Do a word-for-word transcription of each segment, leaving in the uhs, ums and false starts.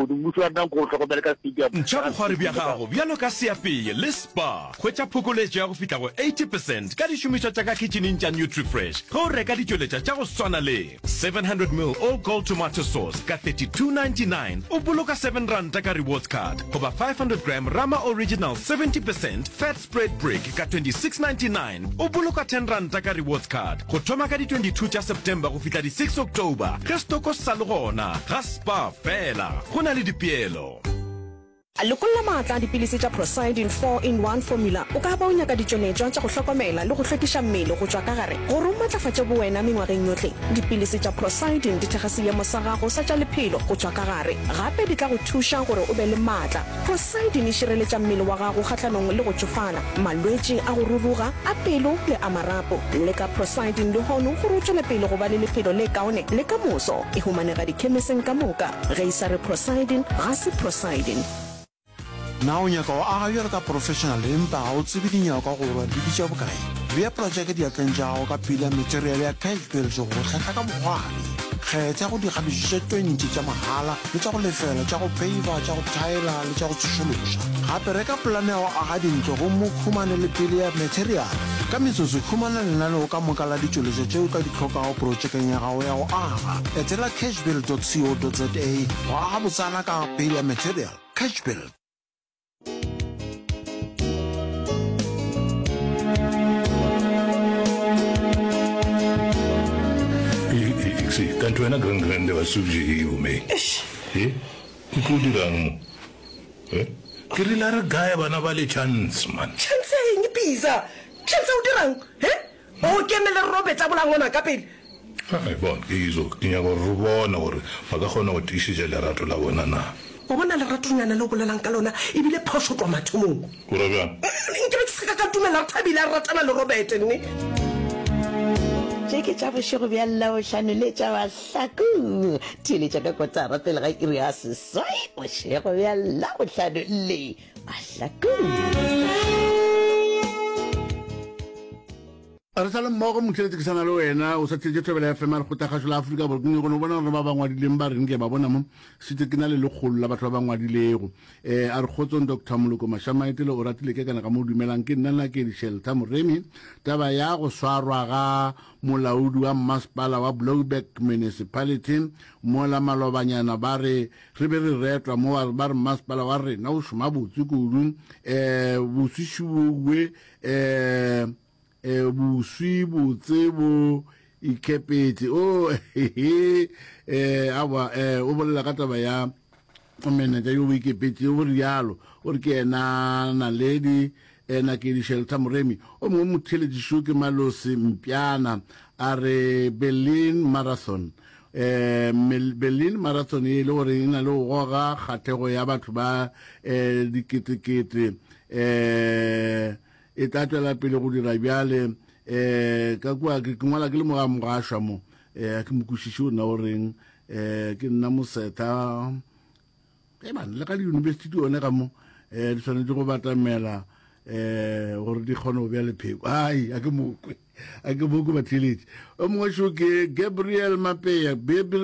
Bokone mmušo wa rena nko o hlokomele ka stadium Ntšha bokgwari bja gago bjalo ka seapeye le Spar. Hwetša phokoletšo ya go fihla go eighty percent ka dišomišwa tša ka kitšhining tša Nutrifresh ge o reka ditšweletša tša go swana le seven hundred ml All Gold Tomato Sauce ka thirty two ninety nine, o boloka seven ranta ka rewards card, goba five hundred gram Rama Original seventy percent Fat Spread Brick ka twenty six ninety nine, o boloka ten ranta ka rewards card. Go thoma ka di twenty two tša September go fihla di six October ge stoko se sa le gona ga Spar fela. Go na le dipeelo. Lokolla maatla a dipilisi tša Procyldin four in one Formula. O ka ba o nyaka ditšweletšwa tša go hlokomela le go hlwekiša mmele go tšwa ka gare gore o matlafatše bowena mengwageng yohle. Dipilisi tša Procyldin di thekga seemo sa gago sa tša lephelo go tšwa ka gare. Gape di tla go thuša gore o be le maatla. Procyldin e šireletša mmele wa gago kgahlanong le go tšofala, malwetši a go ruruga, a pelo le a marapo. Leka Procyldin lehono gore o tšwele pele go ba le lephelo le kaone le ka moso. E humanega dikhemeseng ka moka. Ge e sa re Procyldin, ga se Procyldin. Na o nyaka go aga bjalo ka professional empa ga o tsebe dinyakwa gore di bitša bokae? Bea projeke diatleng tša gago ka pila material ya Cash Build go go hlahla ka bokgwari. Kgetha go dikgabišo tše twenty tša mahala le tša go lefela, tša go peiva, tša go thaela le tša go tsošološa. Gape reka polane ya go aga dintlo gomme o humane le pele ya material. Ka metsotso, humana lenaneo ka moka la ditšweletšwa tše o ka di hlokago projekeng ya gago ya go aga. Etela cashbuild dot co dot za go aga botsana ka pele ya material. Cashbuild. Kanti wena grand grand wa subje e me. E o tlo dirang mo? Eh? Ke rile a re gae bana ba le chance man. Chance eng Pizza? Chance o dirang? He? O kene le Robert a bolaya ngwana ka pele. Ai bona, ke izo ke nyaka gore re bone gore ba ka kgona go tiišetša lerato la bona na. Wa bona leratonyana le o bolelang ka lona e bile phošo tloga mathomong. O ra bjang? Nke be ke se ka ka dumela Rethabile a ratana le Robert nne. Tše ke tša bošego bja Labohlano le tša Mahlakong. Theeletša ka kotara pele ga iri ya seswai bošego bja Labohlano le Mahlakong. Re sa le mmogo motheeletši ke sa na le wena o sa theetše Thobela F M a re kgotagašo la Afrika Borwa. Ke nyaka go no bona gore ba ba ngwadileng ba reng ke ba bona mo šetše ke na le lekgolo la batho ba ba ngwadilego. Eh, a re kgotsong Doctor Moloko Mashamaetele o ratile ke kana ka mo dumelang ke nna Nakedi Shelter Moremi. Taba ya go swarwa ga molaodi wa mmasepala wa Blouberg Municipality mola malobanyana ba re re be re retwa mo ba re mmasepala wa rena o šoma botse kudu. Eh, boswišiwe, eh, eh, boswi botse bo ikepetše. Oh, eh, aowa, eh, o bolela ka taba ya manager yo bo ikepetše, o rialo, o re ke yena Naledi, eh, Nakedi Shelter Moremi. O mongwe motheeletšišo ke Malose Mpiana, a re Berlin Marathon. Eh, Mel-, Berlin Marathon e le gore e na le go goga kgahlego ya batho ba, eh, diketekete, eh, e tla tšwela pele go dira bjale. Eh, ka kua ke, ke ngwala ke le moga mogašwa mo, eh, ke mo kwešiše o nna o reng, eh, ke nna Mosetha. Ge bana le ka di-university di one ka mo, eh, di swanetše go batamela, eh, gore di kgone go bea lepheko. Ai, a ke mokwe, a ke mokwe batheeletši. O mongwe šo ke Gabriel Mapea.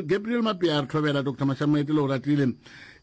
Gabriel Mapea a re thobela Doctor Mashamaetele o ratile.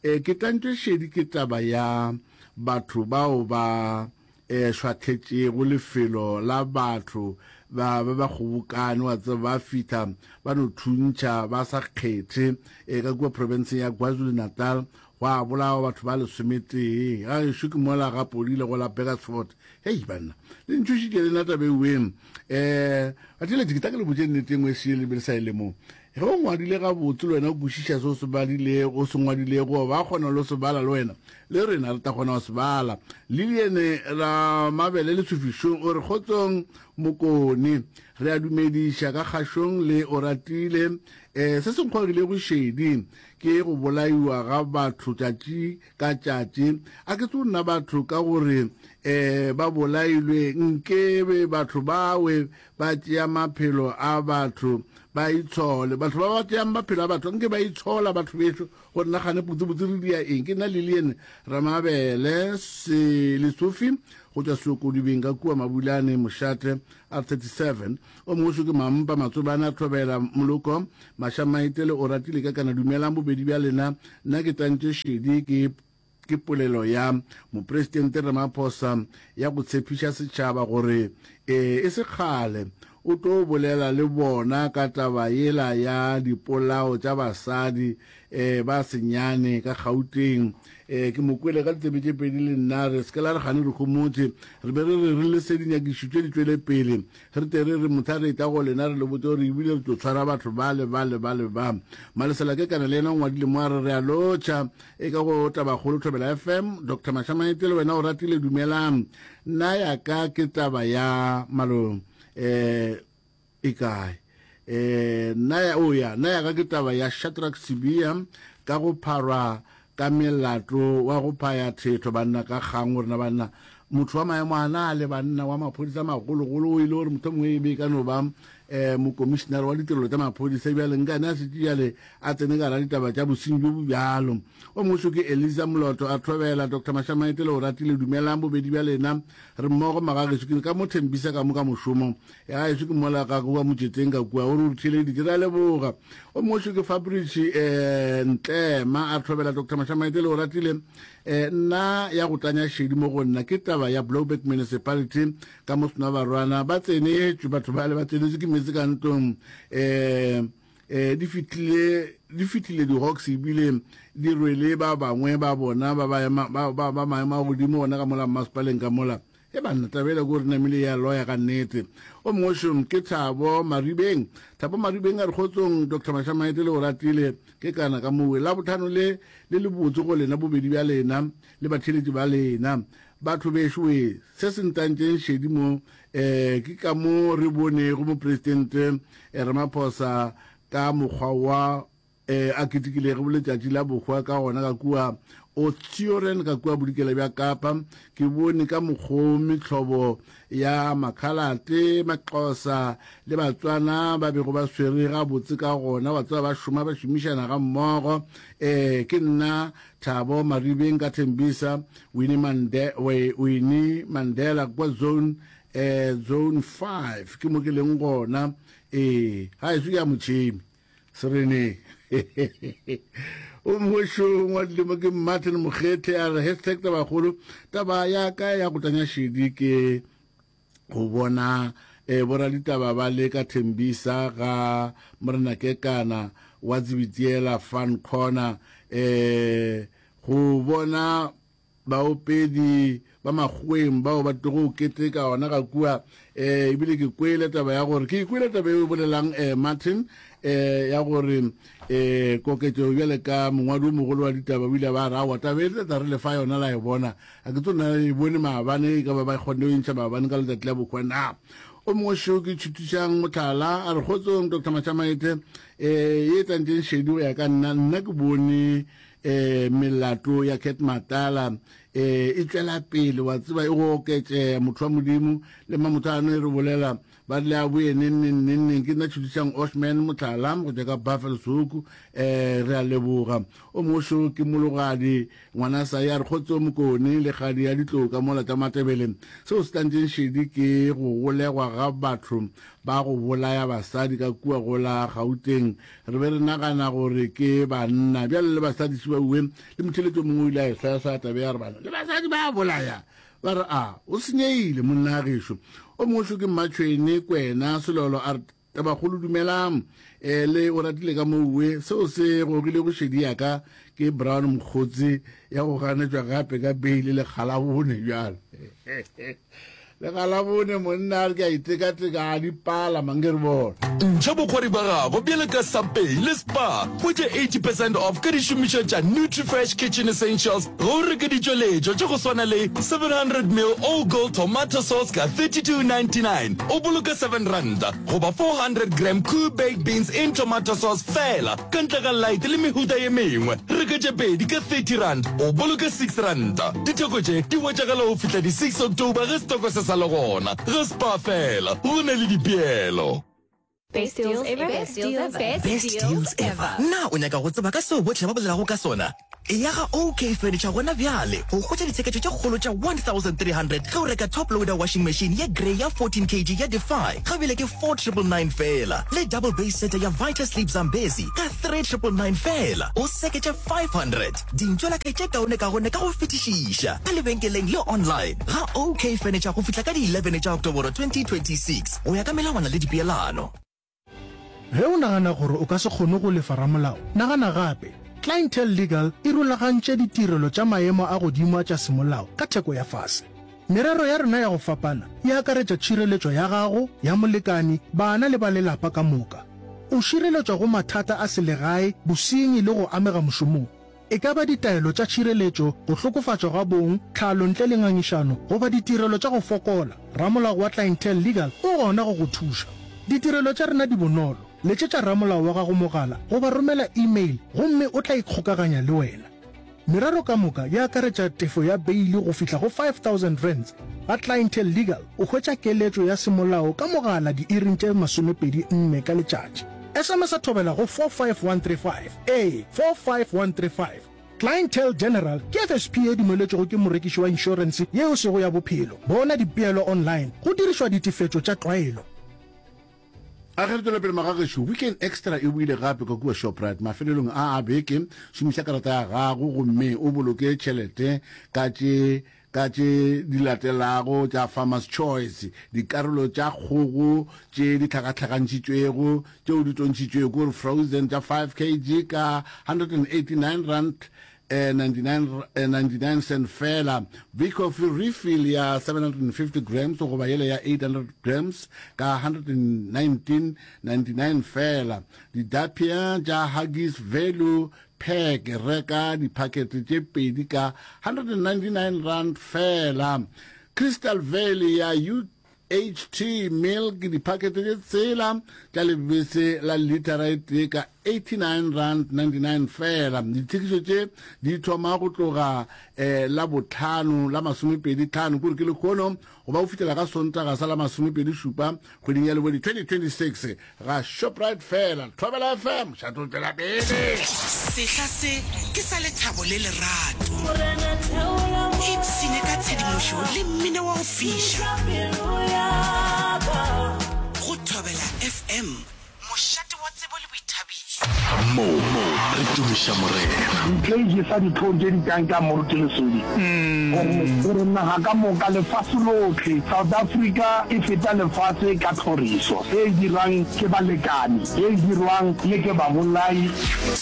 Eh, ke tlantšwe šedi ke taba ya batho bao ba, eh, šwahletšego lefelo la batho ba, ba ba kgobokane, wa tseba, ba fihla ba no thuntšha ba sa kgethe, eh, ka kua provinceng ya KwaZulu-Natal, gwa bolawa batho ba lesometee. Ga gešo ke mola ga Podile go la Burgersfort. Hei banna, le ntšhošitše le nna taba eo. Eh, batheeletši, ke tla ke le botše nnete e nngwe e šele le be le sa e lemoge. Ge o ngwadile gabotse le wena o kwešiša se o se badilego, o se ngwadilego, ba kgona le se bala le wena, le rena re tla kgona go se bala. Lilian Ramabele le Tshofišong o re kgotsong Mokone, re a dumediša ka kgašong le o ratile. Eh, se se nkgogilego šedi ke go bolaiwa ga batho tšatši ka tšatši. A ke tso nna batho ka gore, eh, ba bolailwe, nkebe batho bawe ba tšea maphelo a batho ba itshole. Batho ba ba tšeang maphelo a batho nke ba itshola batho bešo gore nagane botsebotse re dia eng. Ke nna Lilian Ramabele se Lesofi go tšwa Seokodibeng ka kua Mabulane Mošate R thirty seven. O mongwe šo ke Mampa Matsobane a Thobela Moloko Mašamaitele o ratile ka kana. Dumelang bobedi bja lena, nna ke tantše šedi ke ke polelo ya Mopresidente Ramaphosa ya go tshepiša setšhaba gore e se kgale o tlo bolela le bona ka taba yela ya dipolao tša basadi ba senyane ka Gauteng. Ke mo kwele ka ditsebe tše pedi le nna, re se ke la re gane re homotše, re be re re re lese dinyakišišo tše di tšwele pele, re tle re re mohla re etla go lena re le botše gore ebile re tlo tshwara batho bale bale bale ba. Malesela Kekana le yena o ngwadile mo a re re a lotšha e ka go Tabakgolo Thobela F M. Doctor Mashamaite le wena o ratile, dumelang. Nna ya ka ke taba ya malo eh e kae eh nna ya o ya nna ya ka ke taba ya Shadrack Sibiya ka go pharwa ka melato wa go phaya thetho banna ka kgang gore na banna motho wa maemo a na le banna wa maphodisa magologolo o ile gore motho mongwe e be ka no ba eh mokomišenare wa ditirelo tša maphodisa bjale nkane a šetše bjale a tsene ka ra ditaba tša bosenyi bjo bo bjalo. O mongwe šo ke Eliza Moloto a thobela Doctor Mashamaite le o ratile, dumelang bobedi bja lena, re mmogo magagešo, ke ka mo thembisa ka mo ka mošomo ya gaešo ke mola ka kua motšeteng ka kua o re o re theeleditše, re a leboga. O mongwe šo ke Fabrice eh Ntlema a thobela Doctor Mashamaite le o ratile, eh nna ya go tanya šedi mo go nna ke taba ya Blouberg Municipality ka mo Senwabarwana, ba tsenetšwe batho bale ba tsenetšwe ke meetse ka ntlong eh eh di fihlile di fihlile di-hawks ebile di rwele ba bangwe ba bona ba ba ba ba maemo a godimo gona ka mola mmasepaleng ka mola. E banna taba ela ko re namile ya loya ka nnete. O mongwe šo ke Thabo Maribeng. Thabo Maribeng a re kgotsong Doctor Mashamaite le o ratile ke kana ka mowe. Labohlano le le le botse go lena bobedi bja lena le batheeletši ba lena. Batho bešo we, se se ntantšeng šedi mo eh ke ka mo re bonego mopresidente Ramaphosa ka mokgwa wa eh a ketekilego letšatši la bohwa ka gona ka kua Oudtshoorn ka kua bodikela bja Kapa. Ke bone ka mokgo mehlobo ya Makhalate, Maxhosa le Batswana ba bego ba swere gabotse ka gona, wa tseba ba šoma ba šomišana gammogo. Eh ke nna Thabo Maribeng ka Thembisa, Winnie Mande, Winnie Mandela kwa zone eh zone five ke mo ke leng gona. Ee, gaešo ke ya motšhemi Sereneng. O mongwe ngwadile mo ke Martin Mokgethe a re hashtag tabakgolo, taba ya ka ya go tanya šedi ke go bona eh, boraditaba ba le ka Thembisa ga Morena Kekana wa Tsebitiela Fun Corner, eh, go bona baopedi ba makgoweng bao ba tlogo keteka gona ga kua. Eh, ebile ke kwele taba ya gore ke kwele taba e bolelang eh, Martin eh, ya gore eh, koketšo bjale ka mongwadi o mogolo wa ditaba o ile ba ra wa taba e tla re lefa yona la e bona, a ke tsona e bone maabane e ka ba ba kgonne go intšha maabane ka letšatši la bohwa na. O mongwe šo ke tšhutišang mohlala a re kgotsong Doctor Mashamaite, eh, ye tlantšeng šedi go ya ka nna, nna ke bone eh melato ya Cat Matala eh e tšwela pele, wa tseba e go oketšea motho wa Modimo le mamothano e re bolela ba rile a boye neng neng neng neng. Ke nna tšhutišang Oshman mohlala go tšwa ka Buffelshoek, eh re a leboga. O mongwe šo ke Mologadi ngwana sa ya re kgotso Mokone le kgadi ya ditlou ka mola tša Matebele. Seo se tlantšeng šedi ke go golegwa ga batho ba go bolaya basadi ka kua go la Gauteng. Re be re nagana gore ke banna, bjale le basadi šibaue le motheletšo mongwe o ile a e swayaswaya tabe ya re bana le basadi ba bolaya, ba re a o senyehile monna gešo. O mongwe šo ke Mmatšhwene Kwena Selolo a re tabakgolo dumelang, eh le o ratile ka mouwe. Seo se gogile go šedi ya ka ke Brown Mokgotsi ya go ganetšwa gape ka beile lekgalabone bjalo. Lekgalabone monna a re ke a itekateka a di pala mange re bona. Ntšha bokgwari ba gago bjalo ka Subway le Spar, hwetša eighty percent off ka dišomišwa tša Nutrifresh Kitchen Essentials ge o reka ditšweletšwa tša go swana le seven hundred mil All Gold Tomato Sauce ka thirty-two ninety-nine, o boloka seven ranta, goba four hundred gram Koo Baked Beans in Tomato Sauce fela, ka ntle ga light le mehuta ye mengwe. Reka tše pedi ka thirty rand, o boloka six ranta. Ditheko tše di hwetšagala go fihla di six October ge setoko se sa le gona. Ga Spar fela, go na le dipeelo. Best deals ever. Best deals ever. Best deals ever. Na o nyaka go tseba ka seo bohle ba bolelago ka sona? Eya ga OK Furniture gona bjale go hwetša ditsheketšo tše kgolo tša one thousand three hundred ge o reka top loader washing machine ye grey ya fourteen kg ya Defy ga bjale ke four triple nine feela le double base setter ya Vita Sleep Zambezi ka three triple nine feela o seketše five hundred. Dintšwelakae tše kaonekaone ka go fetišiša ka lebenkeleng le online ga OK Furniture go fihla ka di eleven tša Oktoboro twenty twenty six go ya ka melawana le dipeelano. Ge o nagana gore o ka se kgone go lefa ramolao, nagana gape. Clientele Legal e rulagantše ditirelo tša maemo a godimo a tša semolao ka theko ya fase. Merero ya rena ya go fapana e akaretša tšhireletšo ya gago, ya molekani, bana le ba lelapa ka moka. O šireletšwa go mathata a selegae, bosenyi le go amega mošomong. E ka ba ditaelo tša tšhireletšo, go hlokofatšwa ga bong, tlhalo ntle le ngangišano, goba ditirelo tša go fokola, ramolao wa Clientele Legal o gona go go thuša. Ditirelo tša rena di bonolo. Letšetša ramolao wa gago mogala goba romela email gomme o tla ikgokaganya le wena. Merero ka moka e akaretša tefo ya beili go fihla go five thousand rands. Ga Clientele Legal o hwetša keletšo ya semolao ka mogala diiring tše masomepedi nne ka letšatši. S M S a thobela go four five one three five, ee, four five one three five. Clientele General ke F S P e dumeletšwego ke morekiši wa inšorense ye e sego ya bophelo. Bona dipeelo online go dirišwa ditefetšo tša tlwaelo. A ge re tšwela pele magagešo, Weekend Extra e boile gape ka kua Shoprite mafelelong a a beke. Šomiša karata ya gago gomme o boloke tšhelete ka tše ka tše di latelago tša Farmer's Choice, dikarolo tša kgogo tše di hlakahlakantšitšwego tšeo di tontšhitšwego, ke gore frozen, tša five kg ka hundred and eighty-nine rand ninety nine cent fela. Vicoffee refill ya seven hundred and fifty grams goba yela ya eight hundred grams ka hundred and nineteen ninety nine fela. Didapia tša Huggies Value Pack, reka diphakete tše pedi ka hundred and ninety nine rand fela. Crystal Valley ya U H T Milk, diphakete tše tshela tša lebese la litara e tee ka eighty nine rand ninety nine fela. Dithekišo tše di thoma go tloga eh, la bohlano la masomepedi tlhano, kore ke lehono, go ba go fihlela ka Sontaga sa la masomepedi šupa kgweding ya Lewedi twenty twenty six ga Shoprite fela. Thobela F M, šato tšwela pele. Sehla se ke sa lethabo le lerato. Ipshine ka tshedimošo le mmino wa go fiša. Go Thobela F M, mošate wa tsebo le boithabišo. Mo re tumiša Morena. Ntho e jesa dihlong tše di kang ka Moruti Lesodi, gore, gore naga ka moka, lefase lohle, South Africa e feta lefase ka tlhoriso e e dirwang ke balekani, e e dirwang le ke babolai.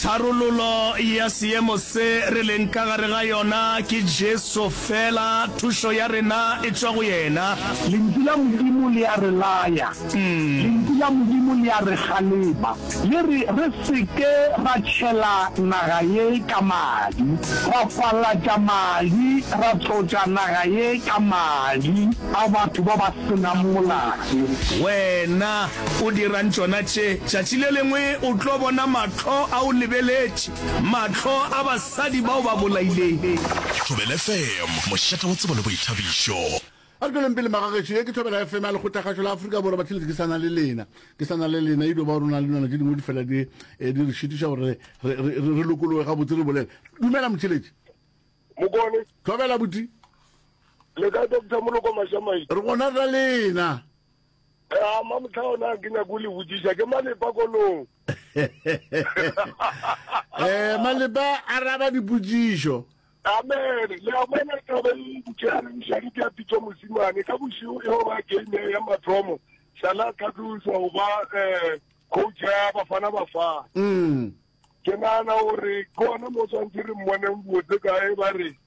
Tharololo ya seemo se re leng ka gare ga yona ke Jesu fela, thušo ya rena e tšwa go yena. Lentšu la Modimo le a re laya. Lentšu la Modimo le a re kgalema, le re re se ke ra tšhela naga ye ka madi, ra falatša madi, ra tlotša naga ye ka madi a batho ba ba se nang molato. Wena o dirang tšona tše? Tšatši le lengwe o tlo bona mahlo a o lebeletše, mahlo a basadi ba o ba bolaileng. Thobela F M, mošate wa tsebo le boithabišo. A re tšweleng pele magagešo, ye ke Thobela F M ya Lekgotlakgašo la Afrika Borwa. Batheeletši, ke sa na le lena, ke sa na le lena. E dio ba rona le nwana tše dingwe di fela di, eh, di re šitiša gore re, re, re, re lokologe gabotse re bolele. Dumela motheeletši. Mokone. Thobela buti. Le kae Doctor Moloko Mašamai? Re gona ra lena. Eh, mamotlha ona ke nyako le botšiša ke Malepa kolong. Eh, Malepa araba dipotšišo. Amen. Le a bona taba e botšeang ke a pitso mosimane ka bošego e ba game ya mathomo sala tlhatloswa go ba eh coach ya Bafana Bafana. Mm. Ke nagana gore ke ona mo tshwanetse re mmoneng botse kae ba re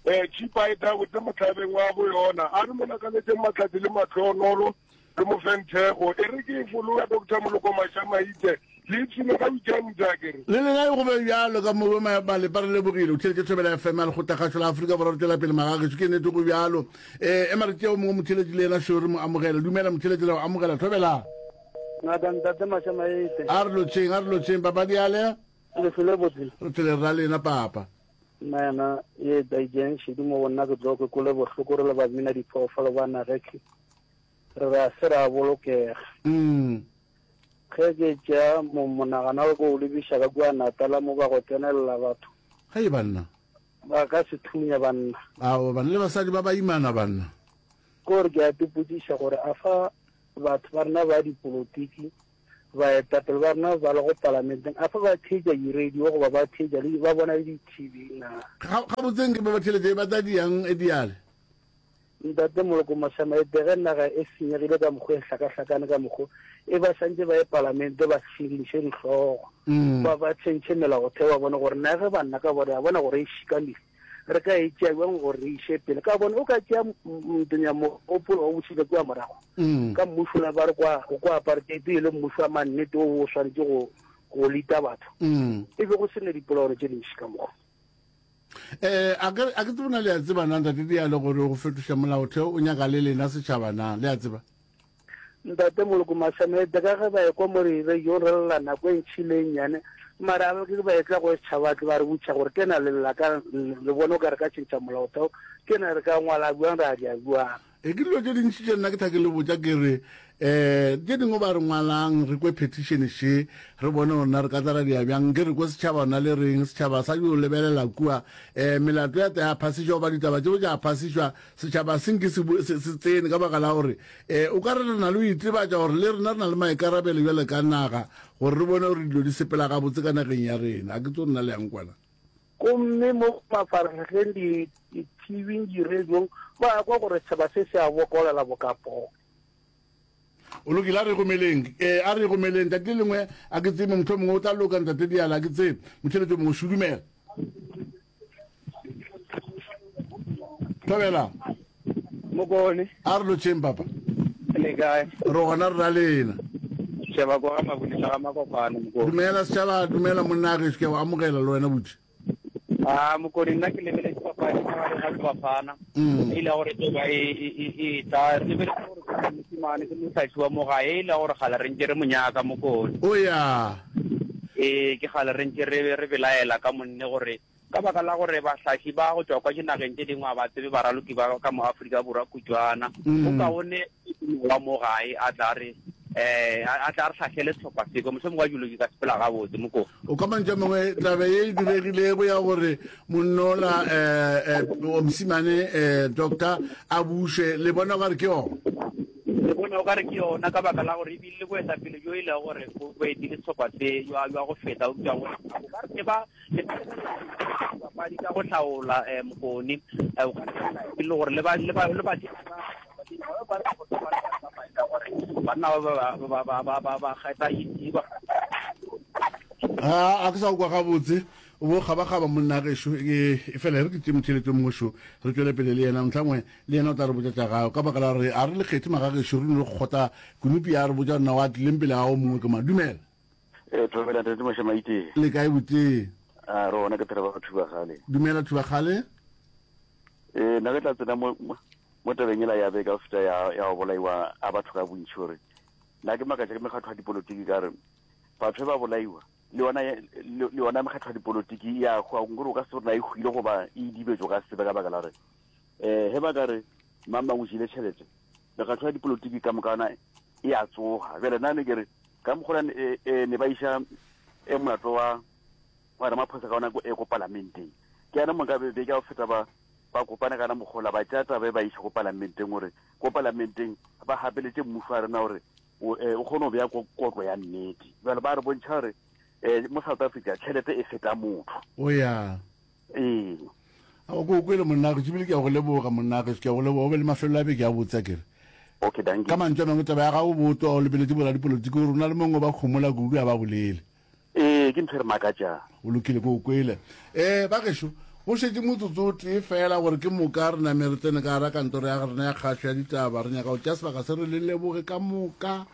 eh chipa e tla botse motlhabeng wa bo yona a re mo lakaletseng matlhatsi le matlhonolo re mo feng thekgo e re ke e fologa Doctor Moloko Mašamaite le ipshine ka weekend a ke re. Le lena e go be bjalo ka mo Malepa re lebogile o theletše Thobela F M ya Lekgotlakgašo la Afrika Borwa re tšwela pele magagešo ke nnete go bjalo eh ema re tšeo mongwe motheletši le yena šo re mo amogela dumela motheletši re o amogela Thobela. Ngaka ntate Mašamaite. A re lotšheng a re lotšheng papa diale. Le hlole botse. Re tlele ra lena papa. Nna yena ye daijeng šedi mo go nna ke tlo ke kwele bohloko re le ba bina diphoofolo ba nagekhe re re a se ra bolokega. Mm. Ge ke tšea monagano wa ka o lebiša ka kua Natala mo ba go tsenelela batho. Hai banna. Ba ka se thunya banna. Aowa banna le basadi ba baimana banna. Ke gore ke a ipotšiša gore a fa batho ba rena ba dipolotiki, baetapele ba rena ba lego palamenteng, a fa ba theetša di-radio goba ba theetša le ba bona le di-T V na? Ga, gabotse nke ba ba theeletše ba tla diang e diale? Ntate Moloko Mashama, ete ge naga e senyegile ka mokgo e hlakahlakane ka mokgo e ba santše ba ye palamente ba širinše dihlogo ba ba tšhentšhe melaotheo ba bone gore na ge banna ka bone ya bona gore e šikamile re ka e tšea bjang gore re iše pele ka bone o ka tšea ntonya mogopolo wa bušile kua morago ka mmušo la ba re kwa kwa apartheid e le mmušo wa mannete o o swanetše go go lita batho e be go se ne dipolaano tše dintši ka mokgo. Eh, a ke a ke tsebe na le a tseba na ntate Diale gore go fetoša molaotheo o nyaka le lena setšhaba na le a tseba? Ntate Moloko Masamete, ka ge ba ekwa mo re re yo re lla nako e ntšhi le e nnyane, mara a ke ba etla go setšhaba tle ba re botša gore ke na le lla ka le bone o ka re ka tšhentšha molaotheo, ke na re ka ngwala bjang ra dia bjang. E ke dilo tše dintši tše nna ke tha ke le botša ke re um tše dingwe ba re ngwalang re kwe petition še re bone gore na re ka tla ra dia bjang nke re kwe setšhaba ona le reng setšhaba sa yo lebelela kua um melato ya ta ya phasišwa goba ditaba tšeo tša phasišwa setšhaba se nke se se se tsene ka baka la gore um o ka re re na le go itebatša gore le rena re na le maikarabelo bjale ka naga gore re bone gore dilo di sepela gabotse ka nageng ya rena a ke tso nna le yang kwana. Gomme mo mafarahlahleng, di, di-T V-ing, di-radiong, ba kwa gore setšhaba se se a bokolela boka poo. O lokile, a re gomeleng. Ee, a re gomeleng. Tšatši le lengwe, a ke tsebe, mohlomongwe o tla loka, Ntate Diala, a ke tsebe. Motheeletši o mongwe, šudumela. Thobela. Mokone. A re lotšheng, papa. Le kae? Re gona, re ra lena. Setšhaba kwa ga Mabonisa ga Makopano, Mokone. Dumela, setšhaba, dumela, monna gešo, ke a go amogela le wena, buti. A Mokone, nna ke lebeletše papadi magareng ga Bafana Mm. e le gore e ba e e e e tla re lebeletse gore ke mosimane ke motlhatlhi wa mo gae e le gore gale re ntse re mo nyaka Mokone. O ya. Ee, ke gale re ntse re re belaela ka monne gore ka baka la gore bahlahli ba go tšwa kwa dinageng tše dingwe ga ba tsebe baraloki ba ka mo Afrika Borwa kutšwana. Mm. Go kaone wa mo gae a tla re eh a tla re hlahlele sehlopha se ko mohlomongwe wa dilo di ka sepela gabotse moko. O ka mantšu a mangwe taba ye e diregilego ya gore monnola eh, eh, mosimane eh, doctor a bušwe le bona o ka re ke yona? Re bona o ka re ke yona ka baka la gore ebile le boetapele bjo e lego gore bo bo etile sehlopha se jwa jwa go feta eupša go o ka re ke ba le ba dipapadi ka go hlaola eh, mokone eh, o ka re e le gore le ba le ba le ba banna ba ba ba ba ba ba ba kgetha e ba a a ke sa go kwa gabotse o bo kgabakgaba monna gešo e e fela re ke tše motheletso mongwe šo re tšwele pele le yena mohlangwe le yena o tla re botša tša gago ka baka la gore a re le kgethe magagešo re no le kgotla kunupi ya re botša rena wa tlileng pele ga o mongwe ke ma dumela. E thobela ntate Mošemaite. Le kae botee? A re gona ke Trevor Thubagale. Dumela Thubagale. E nna ke tla tsena mo mo tabeng ela ya beka feta ya ya go bolaiwa a batho ka bontši gore nna ke makatša ke mekgatlo ya dipolotiki ka re batho ba bolaiwa le yona le yona mekgatlo ya dipolotiki ya hwa nkore o ka se gore na e hwile goba e idibetše o ka se tsebe ka baka la gore um ge ba ka re mang mang o jele tšhelete mekgatlo ya dipolotiki ka moka yona e a tsoga bjale nna ne ke re ka mokgwa e, e, ne ba iša e molato wa wa Ramaphosa ka ona e ko palamenteng ke yana mo ka be beke ya go feta ba ba kopane kana mokgola ba tšea taba e ba iša ko palamenteng gore ko palamenteng ba gapeletše mmušo wa rena gore o e, o kgone go bea kotlo ya nnete jale ba re bontšha gore um mo South Africa tšhelete e feta motho. O ya. Ee. A o ko kwele monna gešo, ebile ke a go leboga monna gešo, ke a go leboga. O be le mafelelo a beke a botse akere. Okay, dankie. Ka mantšu a mangwe taba ya gago boto o lebeletše boradipolotiki gore o na le mongwe ba homola kudu a ba bolele. Ee, ke ntho e re makatšang. Go lokile, ke o kwele. Ee, ba gešo, go šetše motsotso o tee feela gore ke moka re name re tsene ka gara kantoro ya rena ya kgašo ya ditaba. Re nyaka go tšea sebaka se re le leboge ka moka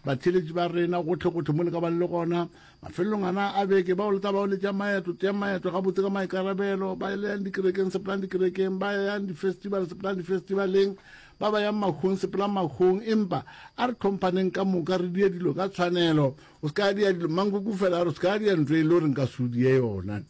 batheeletši ba rena gohle-gohle mo le ka bang le gona. Mafelelong ana a beke, bao le tla bago le tšea maeto, tšeang maeto gabotse ka maikarabelo. Ba yang dikerekeng, sepelang dikerekeng. Ba yang di-festival, sepelang di-festivaleng. Ba ba yang mahung, sepelang mahung. Empa a re tlhomphaneng ka moka, re die dilo ka tshwanelo. O se ka dia dilo, Mankoko fela a re o se ka dia ntho e le gore nka se o die yona.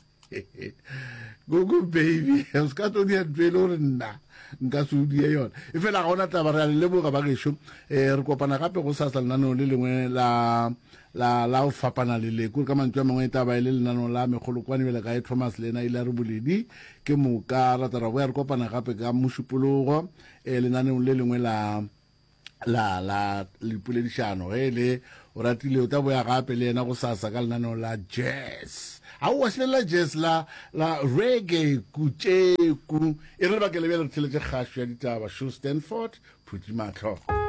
Gogo baby, o se ka tlo dia ntho e le gore nna Nka se o die yona. Efela ga ona taba, re a le leboga ba gešo. Eh, re kopana gape go sasa lenaneong le lengwe la la la go fapana le le. Kore ka mantšu a mangwe e tla ba e le lenaneo la mekgolokwane bjale ka e Thomas le yena ile a re boledi. Ke moka ra tla ra boya re kopana gape ka Mošupologo eh, lenaneong le lengwe la la la dipoledišano. Ge e le o ratile o tla boya gape le yena go sasa ka lenaneo la jazz. Aowa, se le la jazz, la la reggae kutšeku. E re lebakeng le bjale re theletše kgašo ya ditaba. Sho Stanford, Phuti Mahlo.